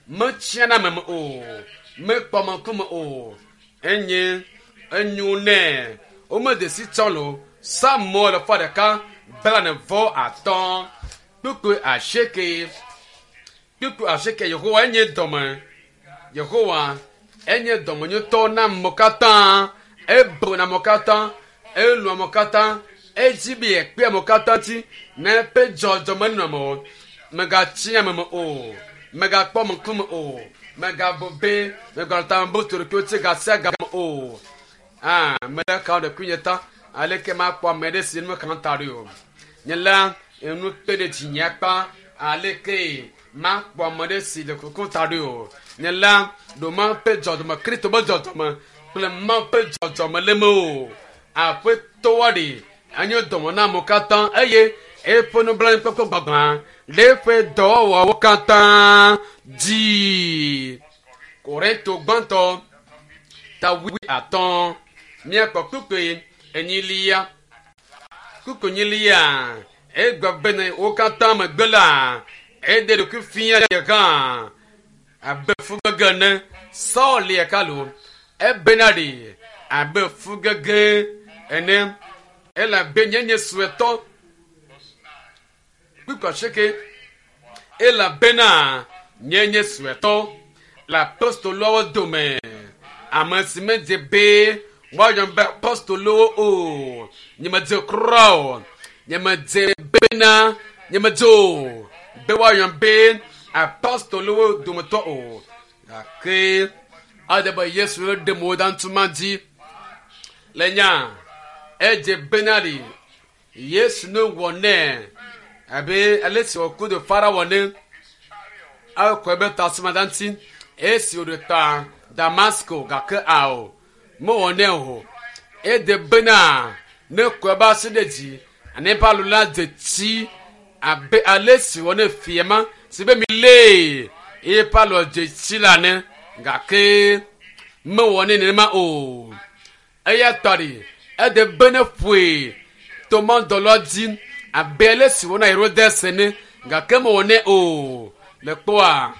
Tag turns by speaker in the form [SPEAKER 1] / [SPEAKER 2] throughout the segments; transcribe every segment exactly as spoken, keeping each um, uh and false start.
[SPEAKER 1] Metsiana ame me o. Mekpɔ ŋkume o. Enye enyo nɛ. Womede si tsɔ lo. Psalmo alafa ɖeka blane vɔ atɔ̃. Kpukpui asieke. Kpukpui asieke Yehowa enye dɔme. Yehowa enye dɔmenyotɔ na amewo katã. Ebona amewo katã. Elɔ̃ amewo katã. Edzi be yekpe amewo katã ŋuti ne eƒe dzɔdzɔme nɔ ame o. Megatsi ame me o. Megakpɔ ŋkume o. Megabu be meganɔ tame bum tso ɖokuiwò ŋuti ga sia game o. Ah, mele ka ɖokuinye ta aleke makpɔ ame ɖe si nu meka ta ɖo o. Nye la enu kpe ɖe dzinye akpa aleke makpɔ ame ɖe si le kuku ta ɖo o. Nye la ɖo Mawu ƒe dzɔdzɔme, Kristo ƒe dzɔdzɔme kple Mawu ƒe dzɔdzɔme le me o. Aƒetɔa ɖe enye dɔme na amewo katã eye eƒe nublanuikpɔkpɔ gbagbã ɖe eƒe dɔwɔwɔwo katã dzi. Korinto gbãtɔ ta wui atɔ̃ míakpɔ kpukpui enyilia. Kpukpui enyilia egblɔ bene wo katã megbe la eɖe ɖokui fia ye hã abe fugege ene. Saul lia kalo ebena ɖi abe fugege ene elabe nye nye suetɔ. Kpukpui asieke elabena nye nye suetɔ le apostoloawo dome. Ame si medze be woayɔm be apostolowo o. Nyemedze kura o. Nyemedze bena nyemedze o be woayɔm be apostolowo dometɔ o. Gake ade be Yesu ɖe mo da ŋutuma dzi le nya edze bena ɖi Yesu ne wɔ nɛ abe ale si wòku do Farao ne ekɔe be tasuma da ŋuti esi wòɖe ta Damasko gake ao mewɔ nɛ o. Ede bena ne kɔe be asi ɖe dzi ane eƒe alu la dze tsi abe ale si wɔ ne fia ma si be mi lee eye eƒe alɔ dze tsi la ne gake mewɔ nɛ nenema o. Eya tɔ ɖi ede be ne ƒoe tomɔdɔlɔ dzi abe ale si wɔ na Herodes ene gake mewɔ nɛ o. Le kpɔa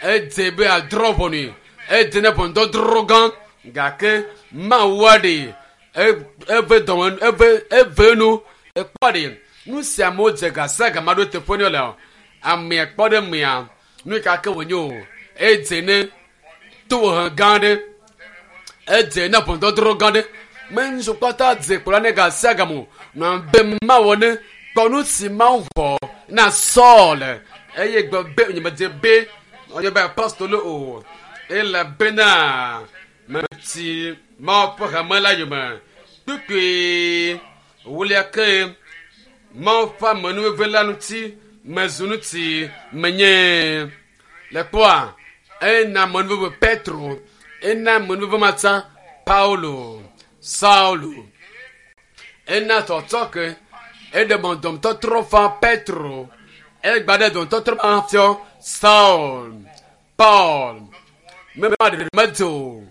[SPEAKER 1] edze be adrɔ̃ ʋɔnui edze ne ʋɔnudɔdrɔ̃ gã gake Mawua ɖe eve dɔme eve eve nu ekpɔ ɖe nu sia amewo dze ga sia gama ɖo teƒe ne le amea kpɔ ɖe mea nu yi ka ke wònye o edze ne tohehe gã ɖe edze ne ʋɔnudɔdrɔ̃ gã ɖe menzu kpata dze kplɔ ne ga sia game o nɔ be mawɔ ne kpɔ nu si Mawu wɔ na Saul eye gblɔ be nyemedze be wòanye be apostolo o elabena meti Mawu ƒe hame la yome kpukpui wulia ke Mawu ƒe amenuveve la ŋuti mezu ŋuti menye le kpɔa ena amenuveve Petro ena amenuveve matsa Paulo Saulo ena tɔtɔ ke eɖe mɔdɔmtɔtrɔ fa Petro egba ɖe dɔmtɔtrɔ ma fiɔ Saul Paul mema ɖeɖe medze o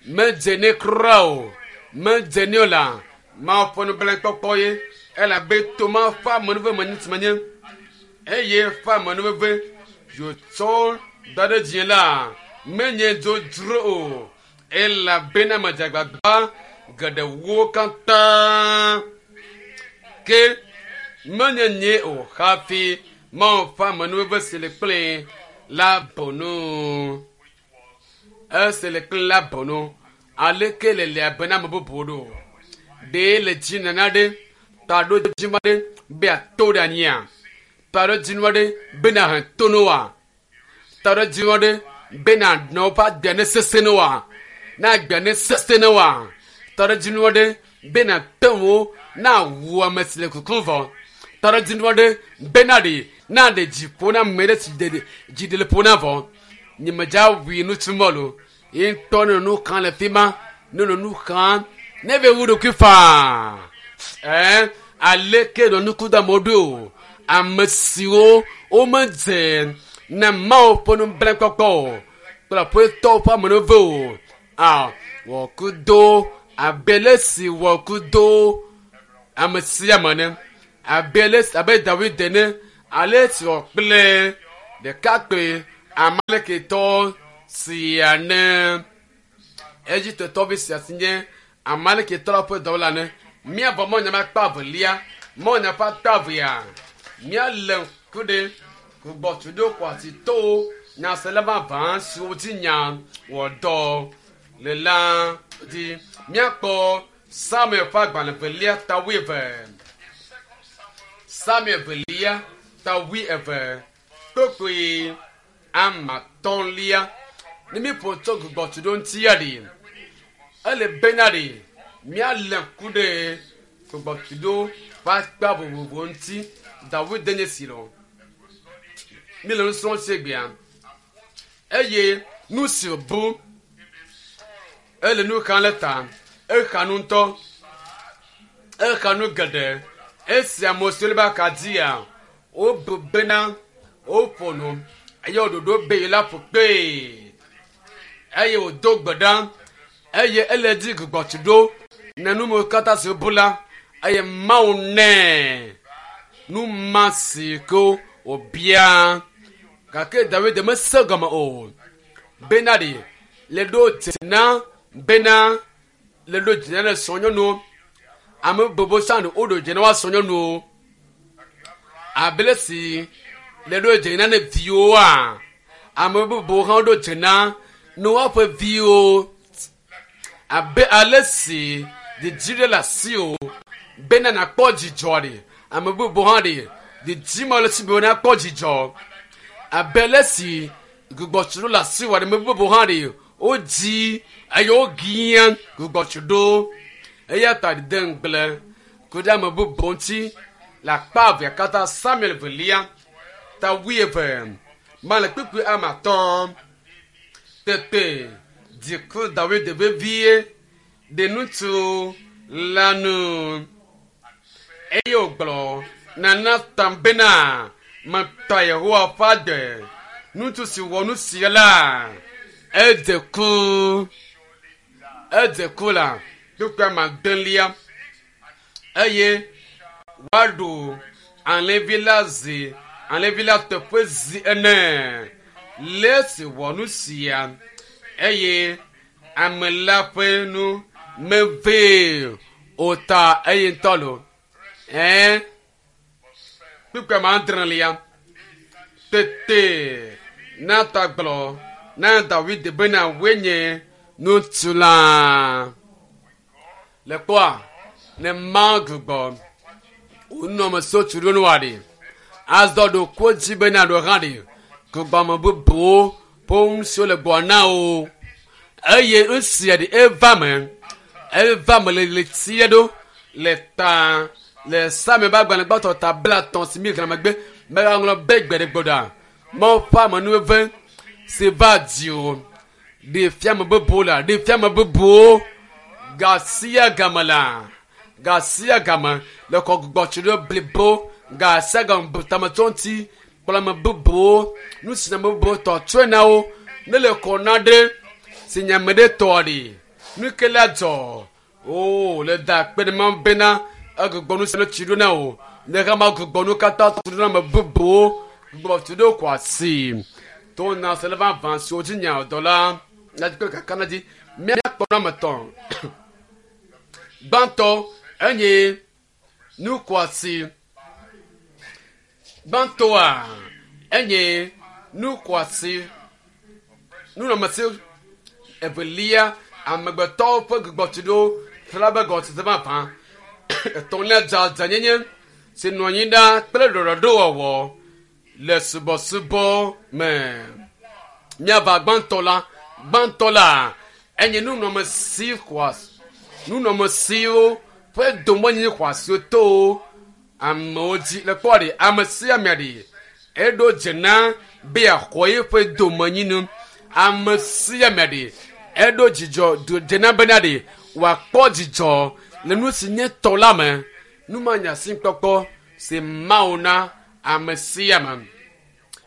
[SPEAKER 1] medze ne kura o medze ne o la Mawu ƒe nublanuikpɔkpɔ ye elabe toma ƒe amenuveve me ŋuti menye eye ƒe amenuveve yotsɔ da ɖe dzi la menye dzodzro o elabena medze agbagba geɖewo katã ke menye nye o hafi Mawu ƒe amenuveve si le kple la bɔnu esi le kple la bɔnu aleke le le abe na ame bubuwo ɖo ɖe le dzi nana ɖe taɖodzinu aɖe be ato ɖe anyia taɖodzinu aɖe be nahe to ne woa taɖodzinu aɖe be nanɔ woƒe agbea ne sesẽ ne woa na agbea ne sesẽ ne woa taɖodzinu aɖe be nate ŋu na wu ame si le kukum vɔ taɖodzinu aɖe be na ɖe na ɖe dzi ƒo na ame ɖe si ɖe dzi ɖe le ƒo na vɔ nyemedza wui nutsumɔ lo ye ŋutɔ ne nu xam le fi ma ne nɔ nu xam ne be wu ɖokui faa ɛɛ aleke nɔ nuku da amewo ɖo o ame siwo womedze na Mawu ƒe nublanuikpɔkpɔ o kple aƒetɔwo ƒe amenuveve o a wɔkudo abe le si wɔkudo ame sia ame ne abe le abe Dawid ene ale si wɔ kple ɖekakpui Amalekitɔ sia ne Egiptetɔvi sia si nye Amalekitɔ la ƒe dɔwɔla ne míabɔ mɔnya ƒe akpa evelia mɔnya ƒe akpa evea míalé ŋku ɖe gbugbɔtuɖo xɔasitɔwo nyasela vavã siwo dzi nya wɔ dɔ le la dzi míakpɔ Samuel ƒe agbalẽ velia ta wuieve Samuel velia ta wuieve kpokpoe ama atɔ̃lia ne míƒo tso gbugbɔtuɖo ŋuti ya ɖi ele bena ɖi míalé ŋku ɖe gbugbɔtuɖo ƒe akpa vovovo ŋuti Dawid nye si lɔ míle nu srɔ̃m tso egbea eye nu si wòbu ele nu xam le ta exa nu ŋutɔ exa nu geɖe esi ame siwo le be akadzia wobu bena woƒo nu eye woɖoɖo be yi la ƒo kpee eye wòdo gbe ɖa eye ele dzi gbugbɔtuɖo ne numewo katã si wobu la eye Mawu nɛ nu ma si ke wòbia gake Dawid mese gɔme o bena ɖi le ɖo dze na bena le ɖo dze na le srɔ̃nyɔnuwo ame gbogbo tsã ɖe woɖo dze na woa srɔ̃nyɔnuwo abe le si le ɖo dze na ne viwoa ame bubuwo hã ɖo dze na ne woaƒe viwo abe ale si didi ɖe le asiwò bena nàkpɔ dzidzɔ ɖi ame bubu hã ɖi didi ma le si be nakpɔ dzidzɔ abe ale si gbugbɔtuɖo le asiwò ame bubu hã ɖi wodzi eye wogia gbugbɔtuɖo eya ta de ŋugble ku ɖe ame bubu ŋuti le akpa evea katã Samuel velia ta wuieve ma le kpukpui ame atɔ̃ tete dziku Dawid vevie ɖe ŋutsu la nu eye wògblɔ na Natan bena metɔ Yehowa ƒe agbe ŋutsu si wɔ nu sia la edze ku edze ku la kpukpui ame adelia eye woaɖu alẽvi la zi alẽvi la teƒe zi ene le esi wɔ nu sia eye ame la ƒe nu mevee o ta eye ŋutɔ lo ɛɛ kpukpui ame adrelia tete Natan gblɔ na Dawid bena woe nye ŋutsu la le kpɔa ne Mawu gbugbɔ wonɔamesiwo tu ɖo nua ɖi azɔ ɖo ko dzi bena ɖo hã ɖi gbugbɔ ame bubuwo ƒe ŋusiwo le gbɔ na wo eye nusia ɖi eva me eva me le ɣletia ɖo le ta le Samuel ƒe agbalẽ gbãtɔ ta blaetɔ̃ si mi xlẽ megbe megaŋlɔ be gbe ɖe gbɔɖa Mawu ƒe amenuveve si va dziwò ɖe fia ame bubuwo la ɖe fia ame bubuwo ga sia game la ga sia game le xɔ gbugbɔtuɖo blibo ga sia game bu tametɔ ŋuti kple ame bubuwo nu si ame bubuwo tɔ tsɔe na wo ne le kɔ na ɖe si nye ame ɖe tɔ ɖi nu ke la dzɔ o le da akpe ɖe Mawu bena egbugbɔ nu sia nu tsi ɖo na wo ne hã ma gbugbɔ nu katã tu ɖo na ame bubuwo gbugbɔ tu ɖo kɔ asi to na se le vavã siwo dzi nya dɔ la la dzi kple kaka na dzi míakpɔ nu ame etɔ̃ gbãtɔ enye nu kɔasi gbãtɔa enye nu kɔasi nunɔamesi evelia amegbetɔwo ƒe gbugbɔtuɖo xlã be gɔmesese vavã etɔ̃lia dzadzanyenye si nɔ anyi ɖa kple ɖɔɖɔɖowɔwɔ le subɔsubɔ me míava gbãtɔ la gbãtɔ la enye nunɔamesi xɔasi nunɔamesiwo ƒe domenyi xɔasiwo to amewo dzi le kpɔ ɖi ame sia ame ɖi eɖo dze na be yeaxɔ yeƒe domenyinu ame sia ame ɖi eɖo dzidzɔ dze na bena ɖi wòakpɔ dzidzɔ le nu si nye tɔ la me numanya si kpɔkpɔ si Mawu na ame sia ame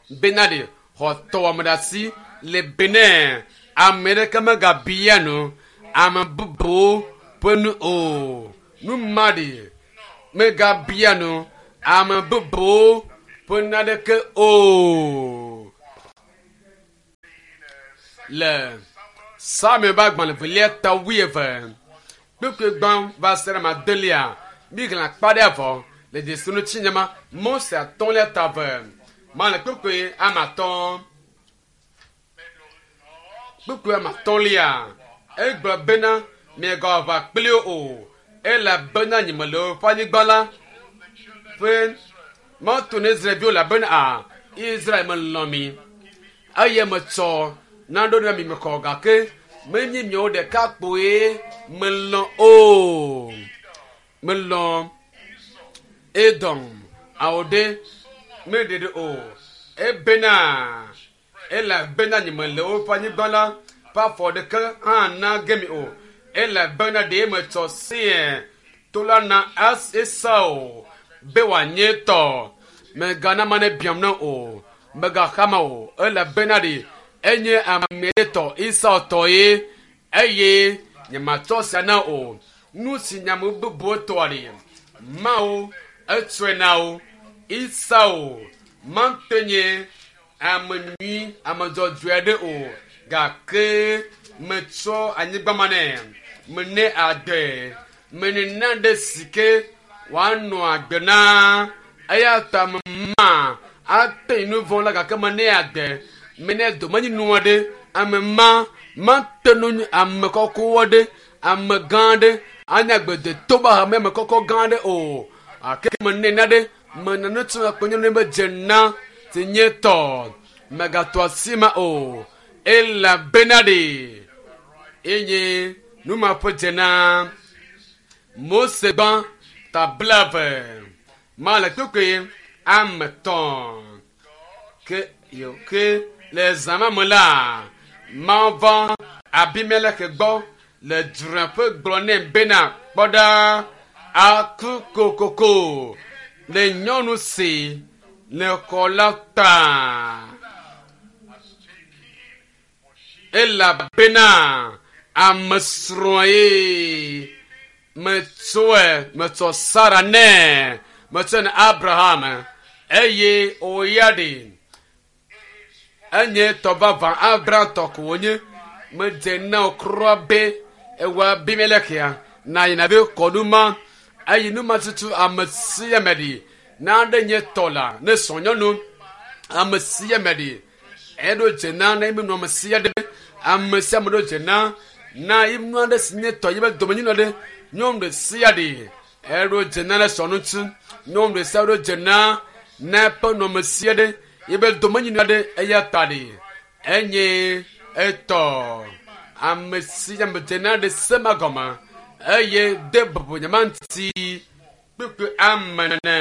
[SPEAKER 1] bena ɖi xɔ tɔwɔme ɖe asi le benɛ ame ɖeke megabia nu ame bubuwo ƒe nu o nu ma ɖi megabia nu ame bubuwo ƒe naneke o. Le Samuel ƒe agbalẽ velia ta wuieve kpukpui gbã va se ɖe ame adelia mi xlẽ akpa ɖe vɔ le dzesi ŋuti nyama Mose atɔ̃lia ta eve ma le kpukpui ame atɔ̃ kpukpui ame atɔ̃lia egblɔ bena miegawɔ aʋa kpli wo o elabena nyemele woƒe anyigba la ƒe mɔto na Israelviwo elabena a Israel melɔ̃ mi eye metsɔ naɖo ɖe mi mexɔ gake menye miawo ɖeka kpoe melɔ̃ o melɔ̃ Edom awo ɖe meɖeɖe o ebena elabena nyemele woƒe anyigba la ƒe afɔ ɖeke hã na ge mi o elabena ɖe metsɔ Seir to la na Esau be wòanye tɔ megana ma ne biam na o megaxama o elabena ɖe enye ame ɖe tɔ Esau tɔ ye eye nyematsɔ sia na o nu si nyame bubuwo tɔa ɖe Mawu etsɔe na wo Esau mate nye ame nyui ame dzɔdzɔe aɖe o gake metsɔ anyigba ma nɛ mene agbe menena ɖe si ke wòanɔ agbe na eya ta mema ate nu vɔ̃ la gake mene agbe mene domenyinu aɖe ame ma mate nu ame kɔkɔ aɖe ame gã aɖe anye agbedeto be hame ame kɔkɔ gã aɖe o ake mene na ɖe mena nu tso akpɔnyɔnu be dze na si nye tɔ megatɔ asi ma o elabena ɖe enye nu ma ƒe dze na Mose gbã ta blaeve ma le kpekpe ame tɔ̃ ke yo ke le zã ma me la Mawu va Abimelek gbɔ le dzreƒe gblɔ nɛ bena kpɔ ɖa aku kokoko le nyɔnu si le xɔ la ta elabena ame srɔ̃ ye metsɔe metsɔ Sara nɛ metsɔe na Abraham eye wòya ɖe enye tɔ vavã Abraham tɔ ko wònye medze na wò kura be ewɔ Abimelek ya na yina be kɔ nu ma eye nu ma tutu ame sia ame ɖi na ɖe nye tɔ la ne srɔ̃ nyɔnu ame sia ame ɖi eɖo dze na na eme nu ame sia ɖe ame sia ame ɖo dze na na yi nu aɖe si nye tɔ yi be domenyinu aɖe nyɔnu ɖe sia ɖe eɖo dze na le srɔ̃ ŋuti nyɔnu ɖe sia ɖo dze na na eƒe nɔme sia ɖe yi be domenyinu aɖe eya ta ɖe enye etɔ ame sia ame dze na ɖe se ma gɔme eye de bubu nye ma ŋuti kpekpe ame nene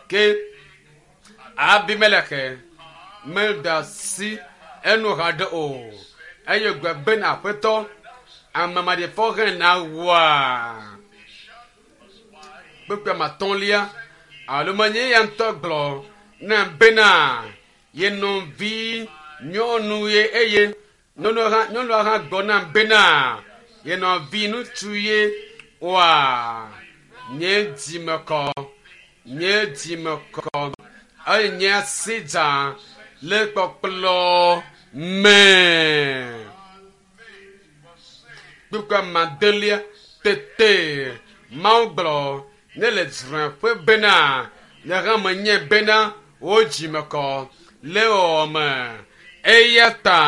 [SPEAKER 1] ke Abimelek meda asi enu haɖe o eye gbe bena aƒetɔ ame maɖifɔ hã na wua kpekpe ame atɔ̃lia alo menye ya ŋutɔ gblɔ na bena ye nɔvi nyɔnu ye eye nyɔnua hã nyɔnua hã gblɔ nam bena ye nɔvi ŋutsu ye oa nye dzimekɔ nye dzimekɔ eye nye asi dza le kpɔkplɔ me kpukpui ame adelia tete Mawu gblɔ ne le dzreƒe bena nye hã menye bena wo dzimekɔ le wɔwɔ me eya ta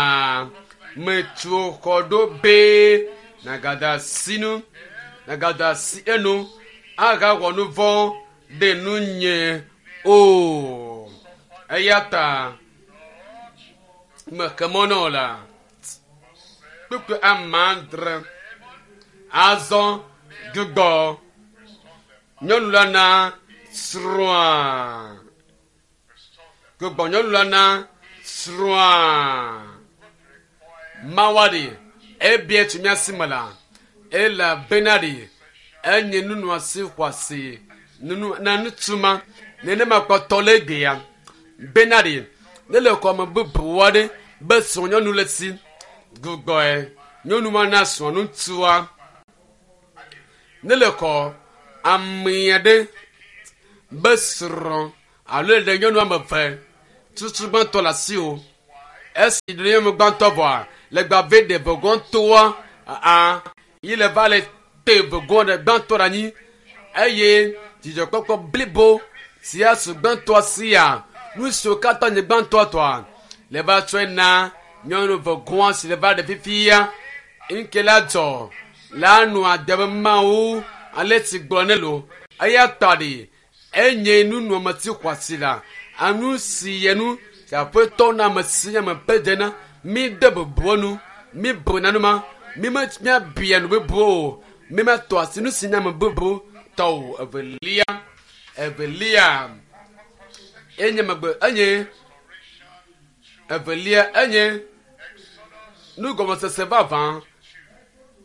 [SPEAKER 1] metu xɔ ɖo be nagada asi nu nagada asi enu agawɔ nu vɔ̃ ɖe nunye o eya ta meke mɔ na wo la kpukpui ame adre azɔ gbugbɔ nyɔnu la na srɔ̃a gbugbɔ nyɔnu la na srɔ̃a Mawu ɖe ebia tso mía si me la elabena ɖe enye nunɔasi xɔasi nunu na ŋutsu ma nenema kpɔtɔ le egbea bena ɖe ne le xɔme bubu aɖe be srɔ̃nyɔnu le si gbugbɔe nyɔnu ma na srɔ̃ ŋutsua ne le xɔ ame aɖe be srɔ̃ alo ɖe nyɔnu ame eve tutu gbãtɔ le asi o Esi ɖe nyɔnu gbãtɔ vɔa legba ve ɖe vegɔntɔa aa yi le va le te vegɔn ɖe gbãtɔ ɖe anyi eye dzidzɔkpɔkpɔ blibo si asu gbãtɔa sia nu siwo katã nye gbãtɔa tɔa le va tsɔe na nyɔnu vegɔa si le va ɖe fifia nke la dzɔ la nu adebe mawu ale si gblɔ ne lo eya tɔ ɖi enye nunɔameti xɔasi la anu si yɛ nu si aƒetɔ na ame si ame ƒe dze mi de bubu nu mi bu nanuma mi me miabia nu bubu o mi me tɔ asi nu si nye ame bubu tɔ o evelia evelia enye megbe enye evelia enye nugɔmesese vavã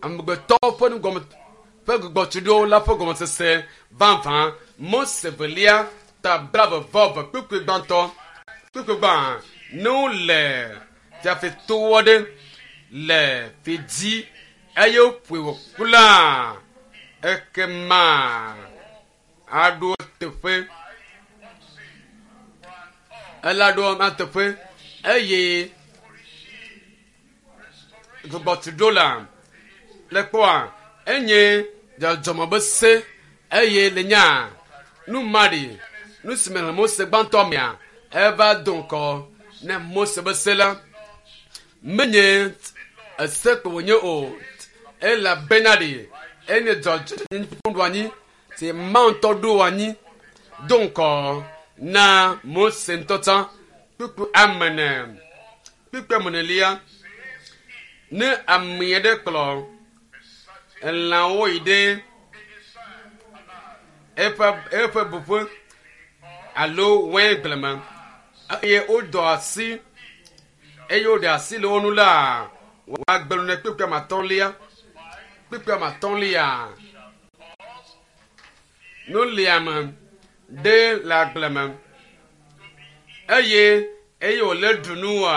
[SPEAKER 1] amegbetɔ ƒe nugɔme ƒe gbɔgbɔtsiɖewo la ƒe gɔmesese vavã Mose velia ta blaeve vɔ eve kpukpui gbãtɔ kpukpui gbã ne wole fiafitɔwo ɖe le fi dzi eye woƒoe wòku la ekema aɖo teƒe ela ɖo ema teƒe eye gbɔgbɔtsiɖo la le kpɔa enye dzɔdzɔme be se eye le nya nu ma ɖi nu si me le Mose gbãtɔ mea eva do ŋkɔ ne Mose be se la menye ese ko wònye o elabena ɖi enye dzɔdzɔnyenye anyi si Mawu ŋutɔ ɖo anyi do ŋkɔ na Mose ŋutɔ tsã kpukpu ame ene kpukpu ame enelia ne ame aɖe kplɔ elãwo yi ɖe eƒe eƒe buƒe alo waingble me eye wodɔ asi eye woɖe asi le wo ŋu la woagbe nu ne kpukpui ame atɔ̃lia kpukpui ame atɔ̃lia nuliame ɖe le agble me eye eye wòle ɖu nua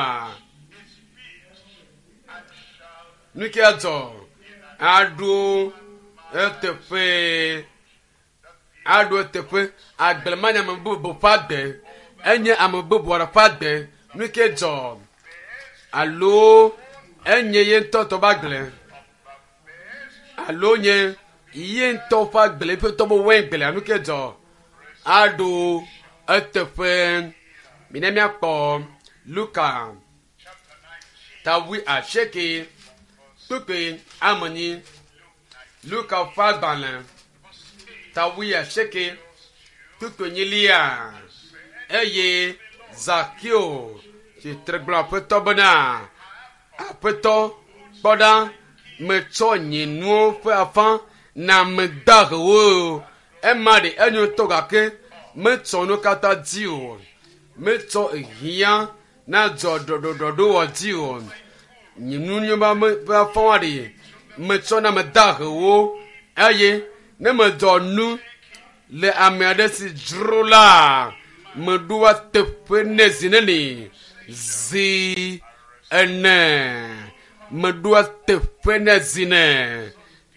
[SPEAKER 1] nu ke dzɔ aɖo eteƒe aɖo eteƒe agble ma nye ame bubu ƒe agbe enye ame bubu aɖe ƒe agbe nu ke dzɔ alo enye ye ŋutɔ tɔ ƒe agble alo nye ye ŋutɔ ƒe agble eƒe tɔ be waingble nu ke dzɔ aɖo eteƒe mina míakpɔ Luka ta wui asieke kpukpui ame enyi Luka ƒe agbalẽ ta wui asieke kpukpui enyilia eye Zakeo tsitre gblɔ aƒetɔ bena aƒetɔ kpɔ ɖa metsɔ nye nuwo ƒe afã na ame dahewo ema ɖe enyo ŋutɔ gake metsɔ nu katã dzi o metsɔ hiã na dzɔ ɖɔɖɔɖɔɖowɔ dzi o nye nu ƒe afã ɖe metsɔ na ame dahewo eye ne medzɔ nu le ame aɖe si dzro la meɖoa teƒe nɛ zi neni zi ene meɖoa teƒe nɛ zi ne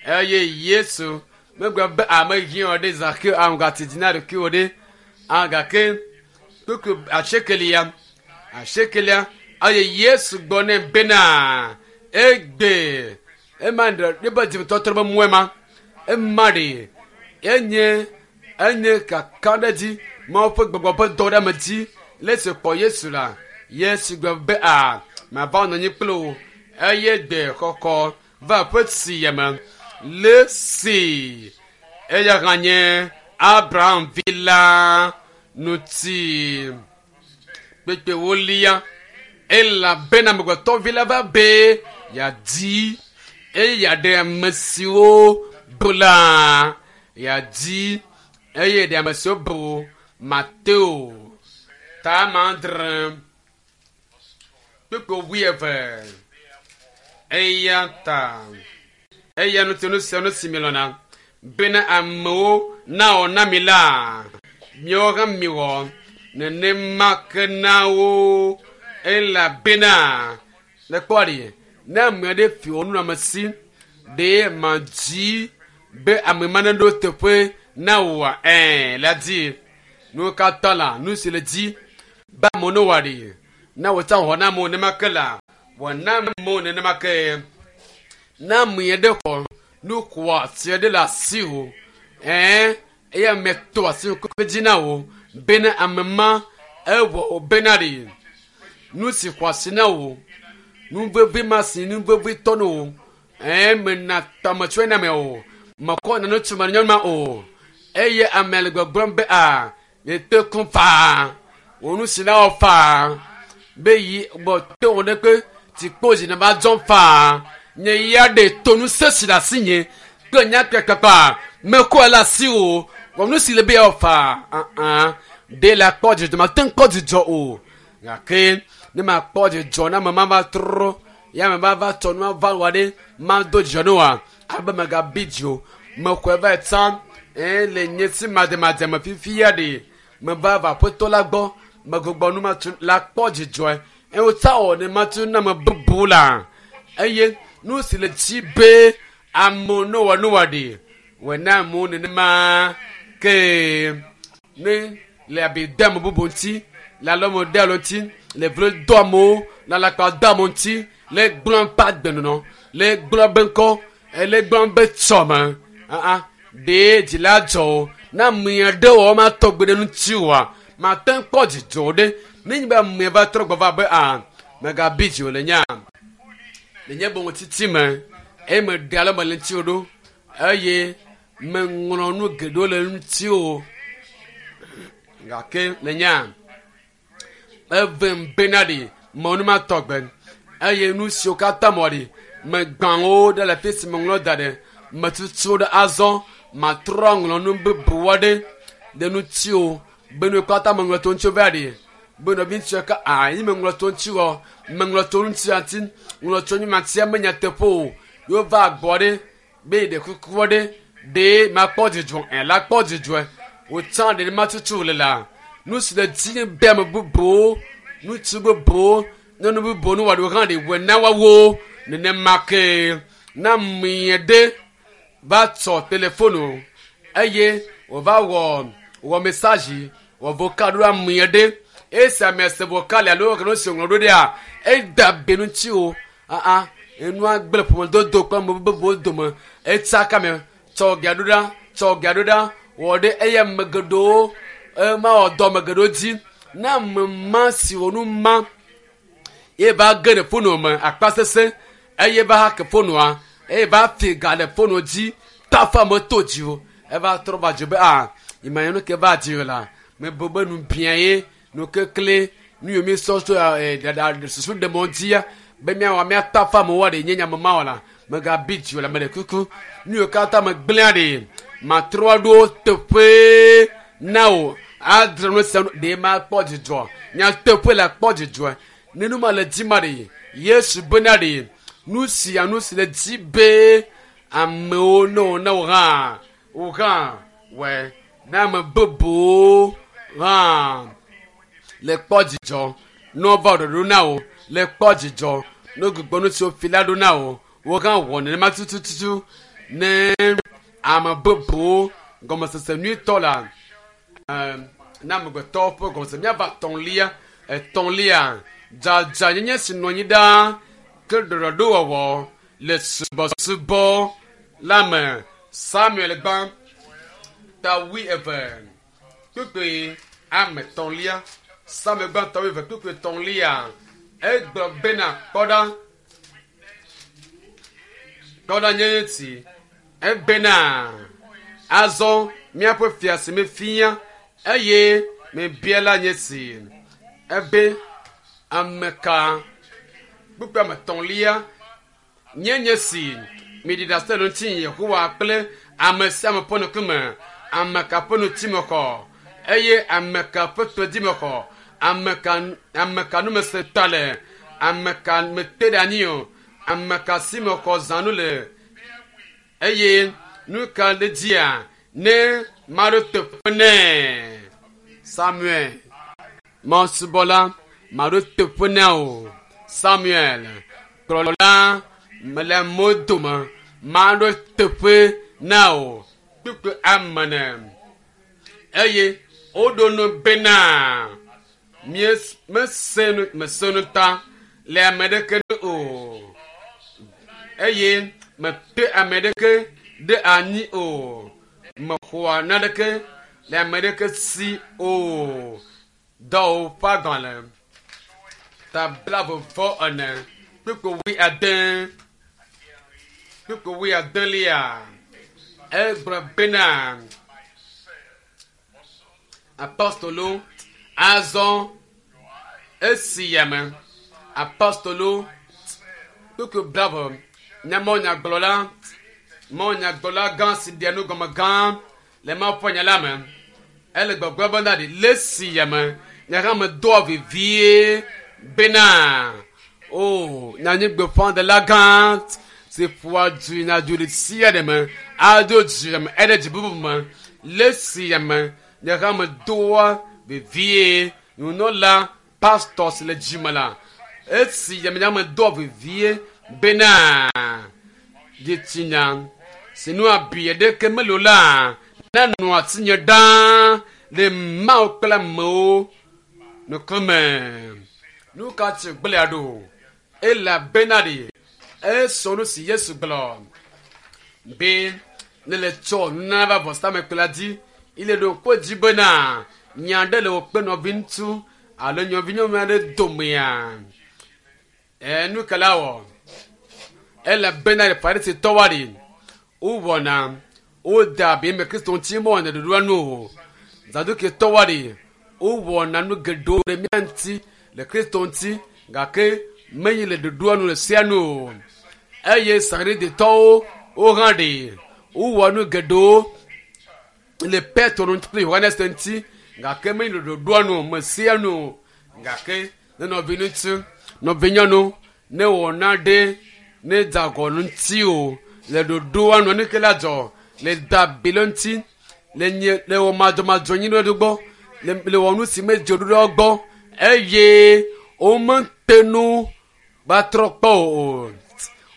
[SPEAKER 1] eye Yesu megblɔ be ame hiã ɖe Zakeo amegati dzi na ɖokuiwò ɖe gake kpukpui asiekelia asiekelia eye Yesu gblɔ nɛ bena egbe ema ɖe ebe dzimetɔtrɔ be mɔe ma ema ɖe enye enye kakaɖedzi Mawu ƒe gbɔgbɔ ƒe dɔ ɖe ame dzi le esi kpɔ Yesu la Yesu gblɔ be a mava nɔ anyi kple wò eye gbe xɔxɔ va aƒe sia me le si eya hã nye Abraham vi la ŋuti kpekpe wolia elabena amegbetɔvi la va be yeadi eye yeaɖe ame siwo bu la yeadi eye ɖe ame siwo bu Mateo ta ame adre kpukpui wuieve eya ta eya ŋuti nu sia nu si milɔ̃na bena amewo nawɔ na mi la miawo hã miwɔ nenema ke na wo elabena le kpɔ ɖi ne ame aɖe fi wò nunɔamesi ɖe madzi be ame ma neɖo teƒe na wòa ɛɛ la di nuwo katã la nu si le dzi be amewo ne wɔ ɖi Na wòtsa xɔ na amewo nenema ke la, wɔ na amewo nenema ke. Na ame aɖe xɔ nu xɔasi aɖe le asiwò, ɛɛ eye ame to asi ŋkume dzi na wò bena ame ma ewɔ wò bena ɖe nu si xɔ asi na wò, nu vevi ma si nu vevi tɔ na wò, ɛɛ mena tɔmetsɔe na ame o, mekɔ nane tso me nyɔnu ma o, eye ame le gbɔgblɔm be a yete kum faa, wò nu si na wɔ faa, be yi gbɔ te wò ɖe kpe tikpo dzi ne va dzɔm faa, nye ya ɖe to nu sesi le asi nye kple nya kpakpakpa mekɔe le asi o, wɔ nu si le be yawɔ faa, ãã ɖe le akpɔ dzidzɔ mate ŋu kpɔ dzidzɔ o, gake ne makpɔ dzidzɔ na ame ma va trɔ ya ame ma va tsɔ nua va wɔ ɖe mado dzidzɔ ne wa abe megabi dzi o, mexɔe va yi tsã eye le nye si mademade me fifia ɖe meva va aƒetɔ la gbɔ megbugbɔ nu ma tu la kpɔ dzidzɔe eye wotsa wɔ ne ma tu na ame bubu la eye nu si le dzi be amewo ne wɔ nu wɔ ɖi wɔ na amewo nenema ke ne le abi de ame bubu ŋuti le alɔme de alo ŋuti le vlo do amewo le alakpa do amewo ŋuti le gblɔ ƒe agbenɔnɔ le gblɔ be ŋkɔ le gblɔ be tsɔme aa ɖe dzi la dzɔ o na ame aɖe wɔ ma tɔgbe ɖe ŋuti oa mate ŋu kpɔ dzidzɔ ɖe ne nye be ame va trɔ gbɔ va be a megabi dzi o le nya le nye bometiti me eye meɖe ale me le ŋuti o ɖo eye meŋlɔ nu geɖewo le ŋuti o gake le nya evem bena ɖi me nu ma tɔgbe eye nu siwo katã mɔ ɖi megbã wo ɖe le fi si meŋlɔ da ɖe metutu wo ɖe azɔ matrɔ ŋlɔ nu bubu aɖe ɖe ŋuti o be nu katã meŋlɔ to ŋuti va ɖi be nɔvi ŋuti ka a yi meŋlɔ to ŋuti wɔ meŋlɔ to ŋuti ati ŋlɔ to nyumatia me nyateƒe o yewo va gbɔ ɖe be ɖe kuku ɖe ɖe makpɔ dzidzɔ ɛ la kpɔ dzidzɔe wòtsã ɖe ma tutu le la nu si le dzi be ame bubuwo ŋutsu bubuwo nyɔnu bubuwo nu wɔɖo hã ɖe wɔ na woawo nenema ke na ame ɖe va tsɔ telefonu eye wòva wɔ wɔ message wɔ vocal ɖo ame ɖe esi ame se vocal alo nu si ŋlɔ ɖo ɖea eda be ŋuti o aa enua gblẽ ƒomedodo kple ame bubuwo dome etsaka me tsɔ ga ɖo ɖa tsɔ ga ɖo ɖa wɔ ɖe eye ame geɖewo ema wɔ dɔ ame geɖewo dzi na ame ma si wɔ nu ma ye va ge ɖe fonu me akpa sese eye va hake fonua eye va fi ga le fonu dzi tafa me to dzi o eva trɔ va dzo be a yima nu ke va dzi o la mebe be nu bia ye nu kekle nu yomi sɔ so ɛ dada susu ɖe mɔ dzia be miawɔ miatafa amewo ɖe nye nyame ma wɔ la megabi dzi o la me ɖe kuku nu yiwo katã megblẽa ɖe matrɔ ɖo teƒe na o adre nu sia nu ɖe makpɔ dzidzɔ nyateƒe la kpɔ dzidzɔ ne nu ma le dzi ma ɖe Yesu bena ɖe nu sia nu si le dzi be amewo ne wo ne wo hã wo hã wɔ na ame bubuwo hã le kpɔ dzidzɔ ne wova ɖoɖo na wo le kpɔ dzidzɔ ne gbugbɔ nu siwo fi la ɖo na wo wo hã wɔ nenema tutututu ne ame bubuwo gɔmesese nyuitɔ la ɛɛ na amegbetɔwo ƒe gɔmesese míava etɔ̃lia etɔ̃lia dzadzanyenye si nɔ anyi ɖaa ke ɖɔɖɔɖowɔwɔ le subɔsubɔ la me Samuel gbã ta wui eve kpukpui ame etɔ̃lia Samuel gbã ta wui eve kpukpui etɔ̃lia egblɔ bena kpɔ ɖa kpɔ ɖa nye ti ebena azɔ míaƒe fia si mefia eye mebia la nye si ebe ame ka kpukpui ame etɔ̃lia nye nye si miɖi ɖase le ŋuti Yehowa kple ame sia ame ƒe ŋkume ame ka ƒe ŋuti mexɔ eye ame ka ƒe to dzi mexɔ ame ka ame ka nu mese ta le ame ka mete ɖe anyi o ame ka si mexɔ zãnu le eye nu ka ɖe dzia ne maɖo teƒe nɛ Samuel mɔsubɔla maɖo teƒe nɛ o Samuel kplɔla mele amewo dome maɖo teƒe na o kpukpui ame ne eye woɖo nu bena Mese nu mese nu ta le ame ɖeke nu o eye mete ame ɖeke ɖe anyi o. Mexɔa naneke le ame ɖeke si o. Dɔwɔƒe ƒe agbalẽ ta blaeve vɔ ene kpukpui wuiade kpukpui wuiadelia egblɔ bena apostolo azɔ esi yame apostolo kpukpui blaeve nye mawunyagblɔla mawunyagblɔla gã si ɖea nu gɔme gã le Mawu ƒe nya la me. Ele gbɔgblɔm bena ɖi le esi yame nye hã medoa vevie bena o nyanyuigbeƒãɖela gã si ƒoa du yina du ɖe sia ɖe me ado dzi me eɖe dzi bubu me le esi yame nye hã medoa vevie nunɔla pastor si le dzime la esi yame nye hã medoa vevie bena dzitsinya si nu abi aɖeke mele o la nanɔ asinye ɖaa le Mawu kple amewo ŋkume. Nu ka tsi gblẽa ɖo? Elabena ɖe esɔ nu si Yesu gblɔ be ne le tsɔ nunana va vɔsamlekpui la dzi ile ɖo ŋku edzi bena nya aɖe le wò kple nɔviŋutsu alo nɔvinyɔnu aɖe domea. Ɛ nu ka la wɔ? Elabena le Farisitɔwoa ɖe wowɔna woda abi eme Kristo ŋuti mewɔna ɖoɖoa nu o. Zadukitɔwoa ɖe wowɔna nu geɖewo ɖe mía ŋuti le Kristo ŋuti gake menye le ɖoɖoa nu le sia nu o. Eye Sariditɔwo wo hã ɖe wowɔ nu geɖewo le Petro ŋuti kple Yohanes ŋuti gake menye le ɖoɖoa nu me sia nu o. Gake ne nɔviŋutsu nɔvinyɔnu ne wɔna ɖe ne dze agɔ ŋuti o le ɖoɖoa nu nu ke la dzɔ le da abi le ŋuti le nye le wɔ madzɔmadzɔ nyi ɖe gbɔ le le wɔ nu si medze ɖoɖoa gbɔ eye womete nu va trɔ kpɔ o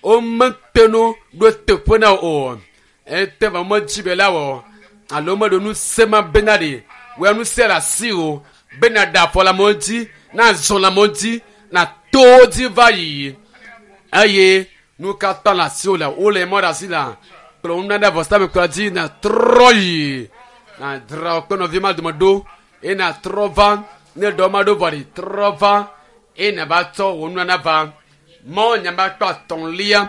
[SPEAKER 1] womete nu ɖo teƒe na o ete va medzi be la wɔ alo meɖo nu se ma bena ɖe wɔ nu se le asi o bena ɖe afɔ le amewo dzi na zɔ le amewo dzi na to wo dzi va yi eye nu katã le asiwò le wole mɔ ɖe asi la kplɔ nunana vɔsamlekpui dzi na trɔ yi na dzra wò kple nɔvi ma dome ɖo eye na trɔ va ne ɖɔ ma ɖo vɔ ɖi trɔ va eye nava tsɔ wò nunana va mɔ nyama akpa atɔ̃lia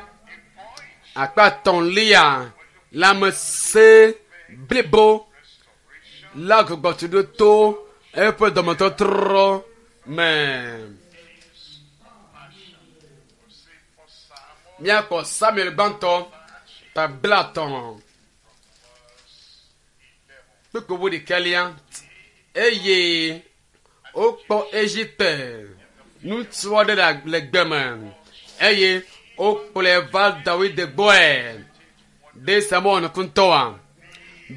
[SPEAKER 1] akpa atɔ̃lia lãmesẽ blibo la gbugbɔtu ɖo to eƒe dɔmetɔtrɔ me. Míakpɔ Samuel gbãtɔ ta blaetɔ̃ kpukpui wuiɖekɛlia eye wokpɔ Egipte ŋutsu aɖe le gbe me eye wokplɔe va Dawid gbɔe ɖe Samuel ŋutɔa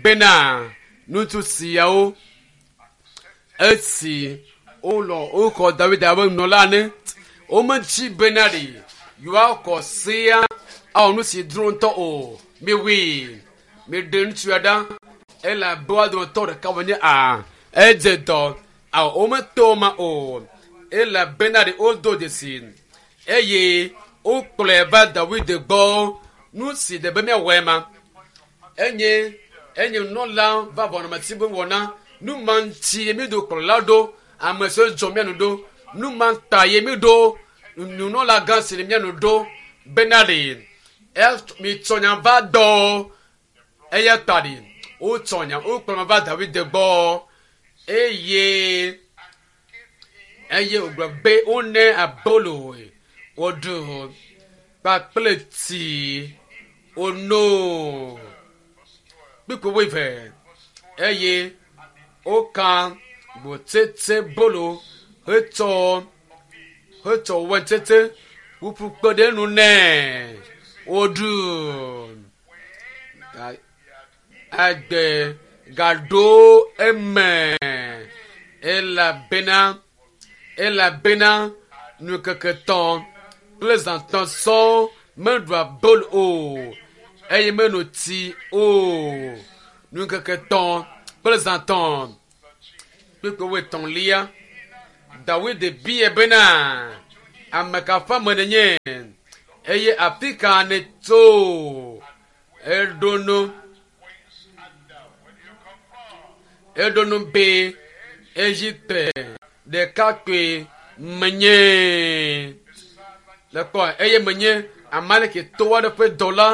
[SPEAKER 1] bena ŋutsu siawo esi wolɔ woxɔ Dawid abe nunɔla ene womedzi bena ɖe yewoaxɔ sea awɔ nu si dro ŋutɔ o. Miwui miɖe ŋutsua ɖa elabe woa dometɔ ɖeka wònye a edze dɔ awɔ wometo ma o elabena ɖe wodo dzesi eye wokplɔe va Dawid gbɔ nu si ɖe be míawɔe ma enye enye nunɔla va ʋɔnumeti be wɔna nu ma ŋuti ye míɖo kplɔla ɖo ame siwo dzɔ mía nu ɖo nu ma ta ye míɖo nunɔla gã si le mía nu ɖo bena ɖe mitsɔ nya va dɔ eya ta ɖi wotsɔ nya wokplɔ va Dawid gbɔ eye eye wògblɔ be wone abolo woɖu kpakple tsi wono kpukpui wuieve eye woka gbotsetse bolo hetsɔ hetsɔ waintsetse ƒuƒu kpe ɖe nu nɛ woɖu agbe gaɖo eme elabena elabena ŋkeke etɔ̃ kple zã etɔ̃ sɔŋ meɖu abolo o eye meno tsi o ŋkeke etɔ̃ kple zã etɔ̃ kpukpui wuietɔ̃lia Dawid bia bena ame ka ƒe ame nènye eye afi ka nètso eɖo nu eɖo nu be Egipte ɖekakpui menye le kpɔ eye menye Amalekitɔ aɖe ƒe dɔla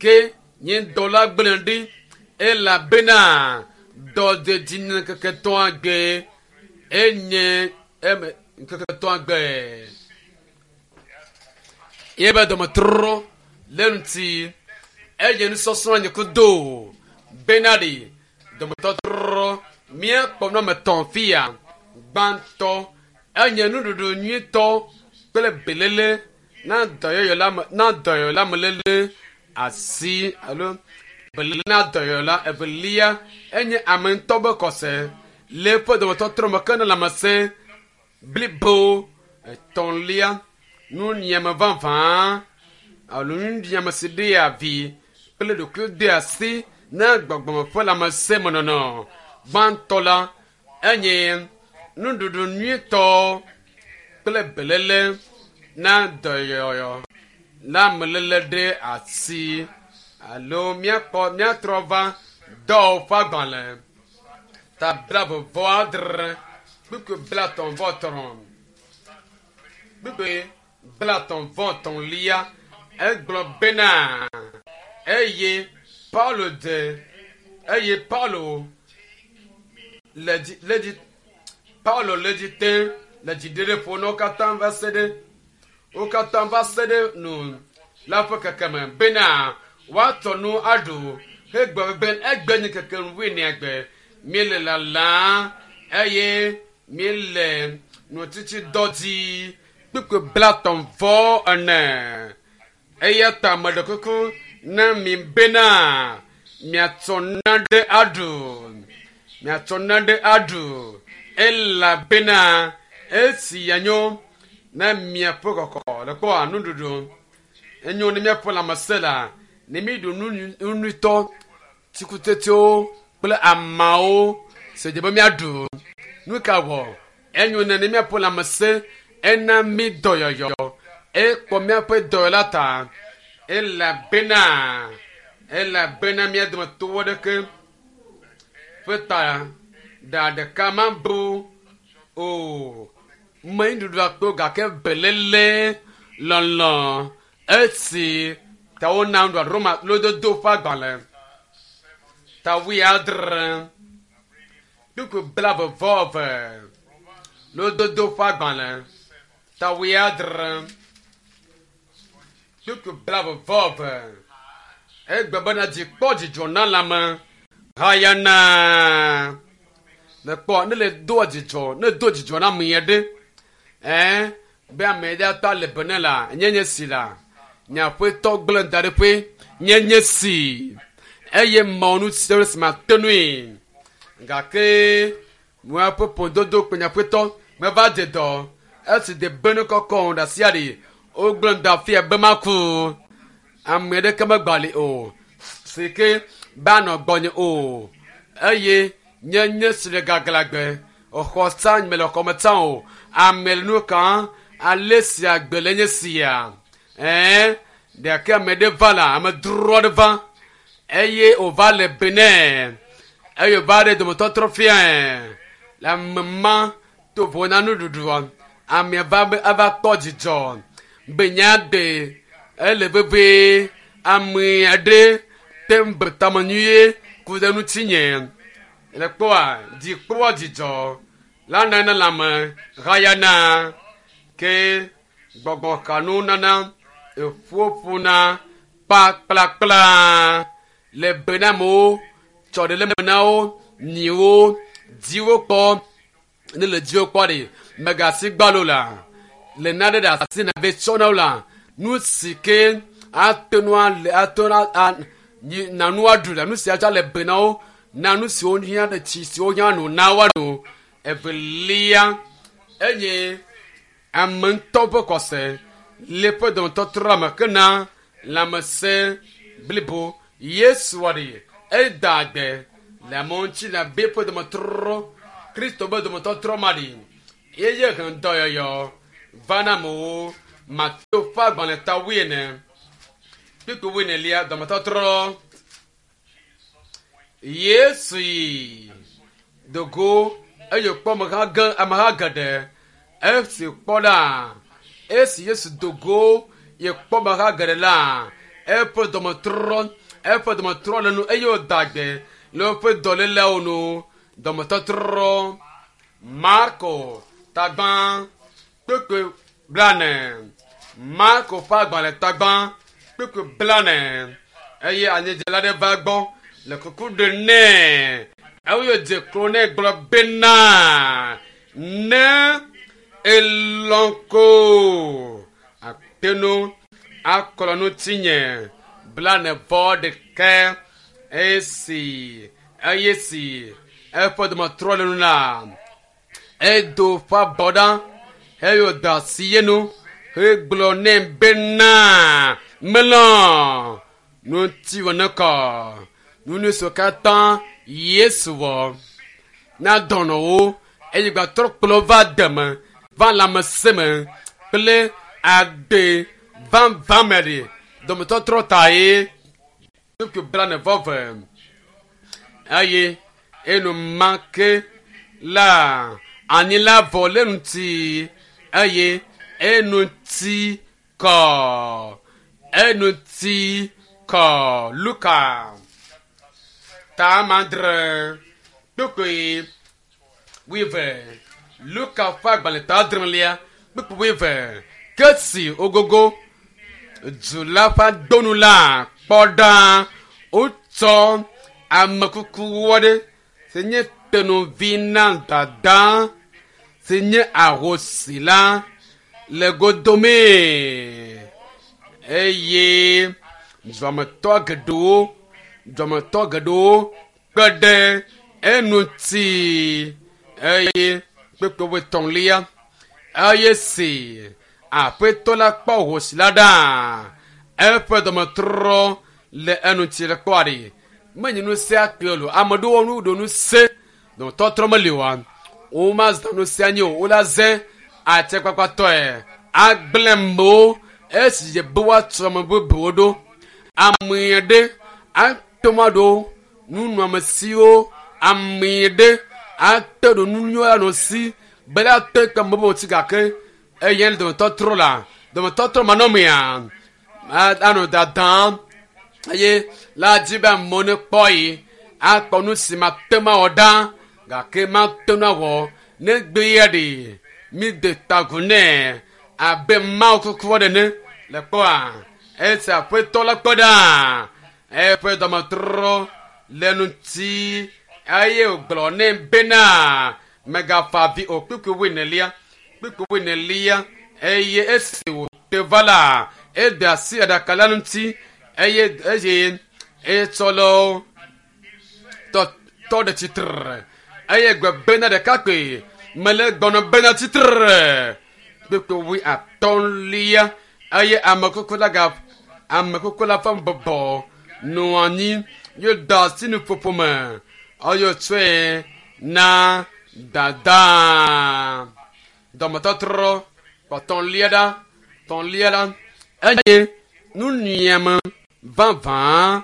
[SPEAKER 1] ke nye dɔla gblẽ ɖi elabena dɔdedi ŋkeke etɔ̃a gbe enye eme ŋkeke etɔ̃a gbe yebe dɔmetrɔ le ŋuti eye nusɔsrɔ̃ nye kudo bena ɖi dɔmetɔtrɔ míakpɔ nɔme tɔ̃ fia gbãtɔ enye nuɖuɖu nyuitɔ kple belele na dɔyɔyɔ la me na dɔyɔyɔ la me lele asi alo belele na dɔyɔyɔ la evelia enye ame ŋutɔ be kɔse le eƒe dɔmetɔtrɔ me ke ne lãmesẽ blibo etɔ̃lia nunyiame vavã alo nunyiame si ɖea vi kple ɖokui dea asi na gbɔgbɔme ƒe lãmesẽ me nɔnɔ gbãtɔ la enye nuɖuɖu nyuitɔ kple belele na dɔyɔyɔ na amelele ɖe asi alo míakpɔ míatrɔ va dɔwɔƒe ƒe agbalẽ ta blaeve vɔ adre kpukpui blatɔ̃ vɔ etɔ̃ kpukpui blatɔ̃ vɔ etɔ̃lia egblɔ bena eye Paulo de eye Paulo le dzi le dzi Paulo le dzi te le dziɖeɖe ƒo na wo katã va se ɖe wo katã va se ɖe nu la ƒe kekeme bena woatɔ nu aɖu hegbe be egbe nye keke wuienea gbe míele lalam eye míele nutsitsi dɔ dzi kpukpui blatɔ̃ vɔ ene eya ta meɖe kuku na mi bena miatsɔ nane aɖu miatsɔ nane aɖu elabena esi yanyo na miaƒe kɔkɔ le kpɔ nuɖuɖu enyo ne miaƒe lãmesẽ la ne mi ɖu nu nyuitɔ tsikutsetsewo kple amawo si dze be miaɖu nu ka wɔ enyo ne ne miaƒe lãmesẽ ena mi dɔyɔyɔ ekpɔ miaƒe dɔyɔla ta elabena elabena mia dometɔwo ɖeke ƒe ta ɖa ɖeka mabu o menyi ɖuɖu akpo gake belele lɔlɔ esi ta wona nuɖuɖu Roma lododo ƒe agbalẽ ta wuiadre kpukpui blaeve vɔ eve lododo ƒe agbalẽ ta wuiadre kpukpui blaeve vɔ eve egbe bena dzi kpɔ dzidzɔ na lãme hayana le kpɔ ne le doa dzidzɔ ne do dzidzɔ na ame aɖe ɛɛ be ame ɖe ata le be ne la nye nye si la nye aƒetɔ gblẽ da ɖe ƒe nye nye si eye mɔ nu si si ma te nui gake míaƒe ƒododo kple nye aƒetɔ meva dze dɔ esi de be nu kɔkɔ ɖe asia ɖi wogblẽ da fia be maku ame ɖeke megba li o si ke ba nɔ gbɔnye o eye nye nye si le gaglagbe exɔ tsã mele xɔme tsã o ame le nu kan ale si agbe le nye sia ɛɛ ɖeke ame ɖe va la ame dro aɖe va eye wòva le benɛ eye wòva ɖe dometɔtrɔ fiae le ame ma to vo na nuɖuɖua amea va be ava kpɔ dzidzɔ be nya de ele vevie ame aɖe te ŋu be tame nyuie ku ɖe ŋutinye le kpɔa dzi kpɔa dzidzɔ la nana lãme hayana ke gbɔgbɔ kanu nana eƒoƒona kpakplakpla le be na amewo tsɔ ɖe le me na wo nyiwo dziwo kpɔ ne le dziwo kpɔ ɖe megasi gbalo la le nane ɖe asi na be tsɔ na wo la nu si ke ate nu ale ate nu a nyi nanu aɖu la nu si atsɔ le be na wo na nu siwo hiã ɖe tsi siwo hiã no na woano evelia eye ame ŋutɔ ƒe kɔse le ƒe dɔmetɔtrɔ me ke na lãmesẽ blibo Yesu wɔ ɖi eda agbe le amewo ŋuti le abe ƒe dɔmetɔtrɔ Kristo ƒe dɔmetɔtrɔ ma ɖi Eye he dɔyɔyɔ va na amewo. Mateo ƒe agbalẽ ta wuiene kpukpui wuienelia dɔmetɔtrɔ. Yesu yi dogo eye wòkpɔ ameha ge ameha geɖe. Esi kpɔ ɖa esi Yesu dogo ye kpɔ ameha geɖe la eƒe dɔmetrɔ eƒe dɔmetrɔ le nu eye wòda gbe le woƒe dɔléleawo nu. Dɔmetɔtrɔ. Marko tagbã kpukpui blane. Marko ƒe agbalẽ tagbã kpukpui blane eye anyidzela ɖe va egbɔ le kuku ɖem nɛ eye wòdze klo nɛ gblɔ bena ne elɔ̃ ko ate ŋu akplɔ ŋutinye blane vɔ ɖeke esi eye si eƒe dɔmetrɔ le nu la edo ƒe abɔ ɖa eye wòda asi ye nu hegblɔ nɛ bena melɔ̃ ŋutiwò nekɔ nu siwo katã Yesu wɔ na dɔnɔwo eye gbatrɔ kplɔ va deme va lãmesẽ me kple agbe vavã me ɖe dɔmetɔtrɔ ta ye kpukpui blane vɔ ve eye enumake la anyi la vɔ le ŋuti eye enuti kɔ enuti kɔ. Luka ta adre kpukpui wuieve. Luka ƒe agbalẽ ta adrelia kpukpui wuieve. Ke si wogogo du la ƒe adonu la kpɔ ɖa wotsɔ amekukuwo ɖe si nye tenuvi na dada si nye ahosi la le godomee eye duametɔ geɖewo duametɔ geɖewo kpe ɖe eŋuti eye kpukpui wuietɔ̃lia eye si aƒetɔ la kpɔ ahosi la ɖa eƒe dɔmetrɔ le eŋuti le kpɔa ɖi menye nu sia kple o ame ɖewo nu ɖo nu se dɔmetɔtrɔ meli oa womazã nu sia nyi o wola ze atikpakpatɔe agblẽ mewo esi dze be woatu ame bubuwo ɖo ame ɖe ate ŋu aɖo nunɔamesiwo ame ɖe ate ɖo nu nyuie anɔ si be la te kpe ame bubuwo ŋuti gake eye le dɔmetɔtrɔ la dɔmetɔtrɔ manɔmea anɔ dadam eye la dzi be amewo nekpɔ yi akpɔ nu si mate ŋu awɔ ɖa gake mate ŋu awɔ negbe ya ɖe mi de tagu nɛ abe Mawu kuku aɖe ene le kpɔa esi aƒetɔ la kpɔ ɖa eƒe dɔmetrɔ le ŋuti eye wògblɔ nɛ bena megafa avi o kpukpui wuienelia kpukpui wuienelia eye esi wòte va la ede asi aɖaka la ŋuti eye eye etsɔ le tɔ tɔ ɖe tsitre eye gbe bena ɖekakpui mele gbɔnɔ bena tsitre kpukpui wuiatɔ̃lia eye amekuku la ga amekuku la ƒe bɔbɔ nɔ anyi ye da asi nuƒoƒo me eye wòtsɔe na dada dɔmetɔtrɔ kpɔtɔ̃lia ɖa tɔ̃lia ɖa eye nunyiame vavã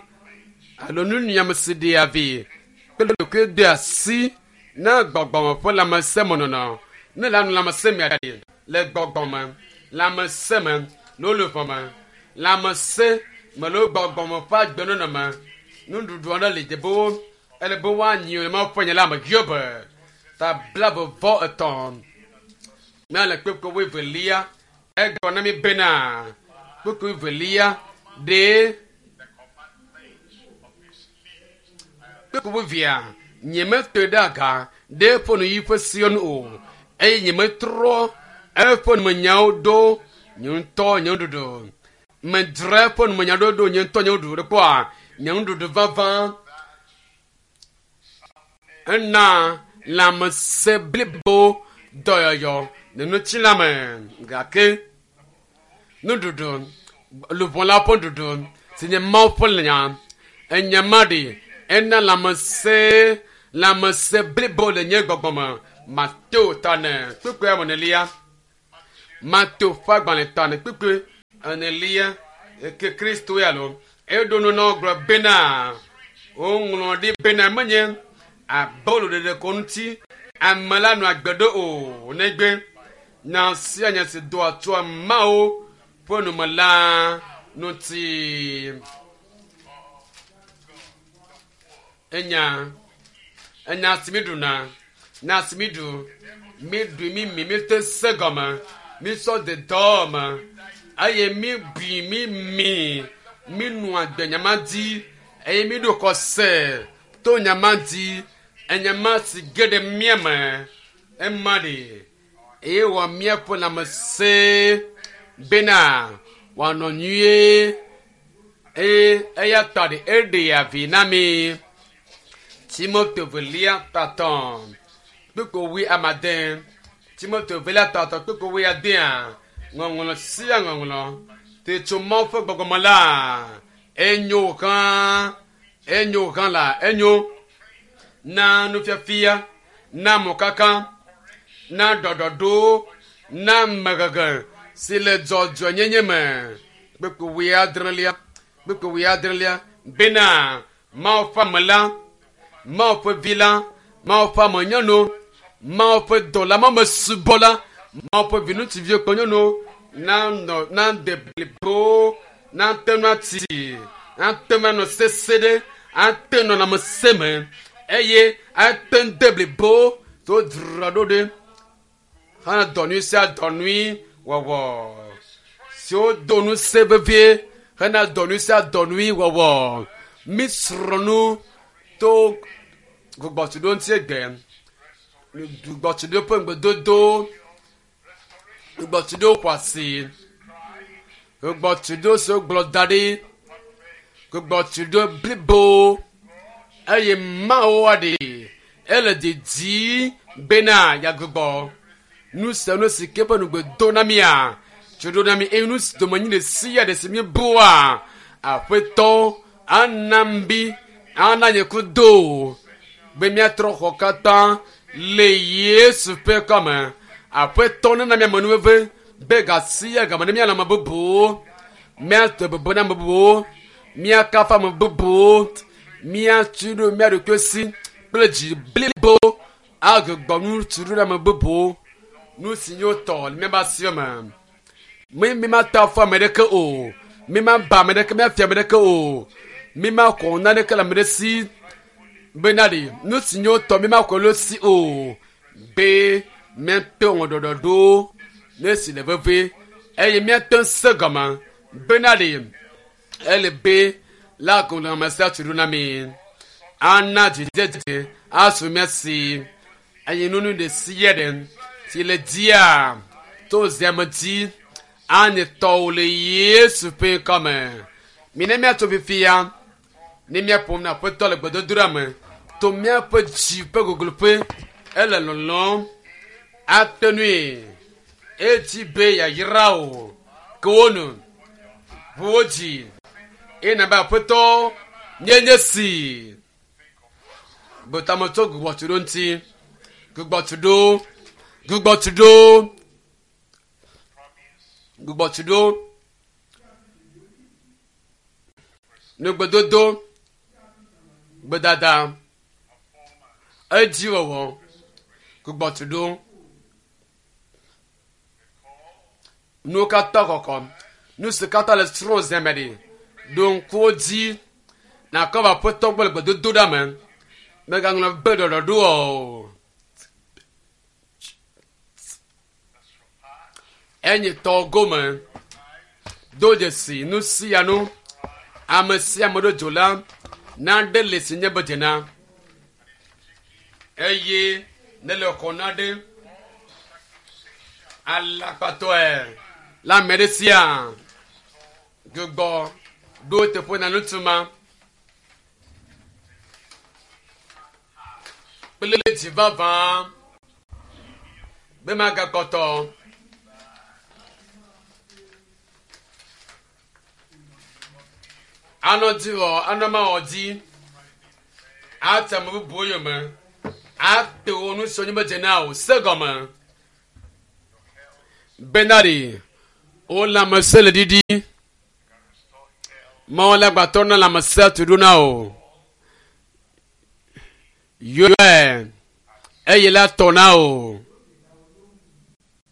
[SPEAKER 1] alo nunyiame si ɖea vi kple ɖokui de asi na gbɔgbɔme ƒe lãmesẽmenɔnɔ ne le anu lãmesẽ mea ɖe le gbɔgbɔme lãmesẽ me le luʋɔ me lãmesẽ me le gbɔgbɔme ƒe agbenɔnɔ me nuɖuɖu aɖe li dze be wo ele be woanyi le Mawu ƒe nya la me Hiob ta blaeve vɔ etɔ̃ míale kpukpui wuievelia egblɔ na mi bena kpukpui wuievelia ɖe kpukpui wuievia nyemete ɖe aga ɖe eƒe nuyi ƒe sewo nu o eye nyemetrɔ eƒe numenyawo ɖo nye ŋutɔ nye nuɖuɖu medzra eƒe numenyawo ɖo nye ŋutɔ nye nuɖuɖu ɖe kpɔa nye nuɖuɖu vavã ena lãmesẽ blibo dɔyɔyɔ le ŋutilã me gake nuɖuɖu luʋɔ la ƒe nuɖuɖu si nye Mawu ƒe nya enya ma ɖi ena lãmesẽ lãmesẽ blibo le nye gbɔgbɔ me Mateo tane kpukpui enelia. Mateo ƒe agbalẽ tane kpukpui enelia ke Kristo ya lo. Eɖo nu na wo gblɔ bena woŋlɔ ɖi bena menye abolo ɖeɖe ko ŋuti ame la nɔ agbe ɖo o negbe nya sia nya si doa tsoa Mawu ƒe nume la ŋuti. Enya enya si mi ɖuna nya si mi ɖu mi ɖu mi mi mi te se gɔme mi sɔ de dɔ me eye mi bui mi mi mi nu agbe nyama dzi eye mi ɖo xɔse to nyama dzi enyama si ge ɖe mía me ema ɖe eye wɔ míaƒe lãmesẽ bena wòanɔ nyuie eye eya ta ɖe eɖea vi na mi. Timothée velia tatɔ kpukpui wui amade Timothée velia tatɔ kpukpui wui adea ŋɔŋlɔ sia ŋɔŋlɔ te tso Mawu ƒe gbɔgbɔme la enyo hã enyo hã la enyo na nufiafia na mɔkaka na ɖɔɖɔɖo na mehehe si le dzɔdzɔenyenye me kpukpui wui adrelia kpukpui wui adrelia bena Mawu ƒe ame la Mawu ƒe vi la Mawu ƒe ame nyɔnu Mawu ƒe dɔla Mawu ƒe subɔla Mawu ƒe viŋutsuviwo kple nyɔnuwo nanɔ nade blibo nate ŋu ati ate ŋu anɔ sese ɖe ate ŋu nɔ me eye ate ŋu de blibo to dzra ɖo ɖe hã dɔ nyui sia dɔ nyui wɔwɔ siwo do ŋusẽ vevie hena dɔ nyui sia dɔ nyui wɔwɔ mi srɔ̃ nu to gbugbɔtuɖo ŋuti egbe gbugbɔtuɖo ƒe ŋugbedodo gbugbɔtuɖo xɔasi gbugbɔtuɖo si wogblɔ da ɖi gbugbɔtuɖo blibo eye Mawu aɖe ele didi bena yeagbugbɔ nu sia nu si ke ƒe nugbe do na mia tso ɖo na mi eye nu si domenyi ɖe sia ɖe si míebua aƒetɔ ana bi ana nye kudo be míatrɔ xɔ katã le Yesu ƒe kɔme aƒetɔ nena míame nuveve be gasia game ne míanɔ ame bubuwo míate bebe na ame bubuwo míakafu ame bubuwo míatu ɖo mía ɖokui si kple dzi blibo agbugbɔ nu tu ɖo na ame bubuwo nu si nyo tɔ le míaƒe asiwo me mi mi ma ta afɔ ame ɖeke o mi ma ba ame ɖeke míafia ame ɖeke o mi ma kɔ naneke le ame ɖe si bena ɖe nu si nyo tɔ mi ma kɔ le si o be míate ŋu ɖɔɖɔɖo ne si le vevie eye míate ŋu se gɔme bena ɖe ele be la gɔme sia tu ɖo na mi ana dzidzedze asu mía si eye nunu ɖe sia ɖe si le dzia to ziame dzi anye tɔwo le Yesu ƒe ŋkɔme mi ne míatso fifia ne míaƒom na aƒetɔ le gbedodoɖa me to míaƒe dzi ƒe gogloƒe ele lɔlɔm ate nui edzi be yayra o ke wo nu ʋu wo dzi eye nabe aƒetɔ nye nye si gbetametso gbugbɔtuɖo ŋuti gbugbɔtuɖo gbugbɔtuɖo gbugbɔtuɖo nugbedodo gbedada edziwɔwɔ gbugbɔtuɖo nuwo katã kɔkɔ nu si katã le srɔ̃ zeme ɖi ɖo ŋkuwo dzi nakɔ va aƒetɔ gbɔ le gbedodoɖa me megaŋlɔ be ɖɔɖɔɖo o enye tɔ gome do dzesi nu sia nu ame sia ame ɖo dzo la naɖe le si nye be dzena eye ne le xɔ naɖe alakpatɔe le ame ɖe sia gbugbɔ ɖo teƒe na ŋutsu ma kple dzi vavã be magakpɔtɔ anɔ dzi wɔ anɔ ma wɔ dzi ate ame bubuwo yome Ato nu siwo nye medze na o se gɔme. Bena ɖe wo lãmesẽ le ɖiɖi.
[SPEAKER 2] Can restore health
[SPEAKER 1] Mawu la gbatɔ na lãmesẽ tu ɖo na o. Yɔe eye la tɔ na o.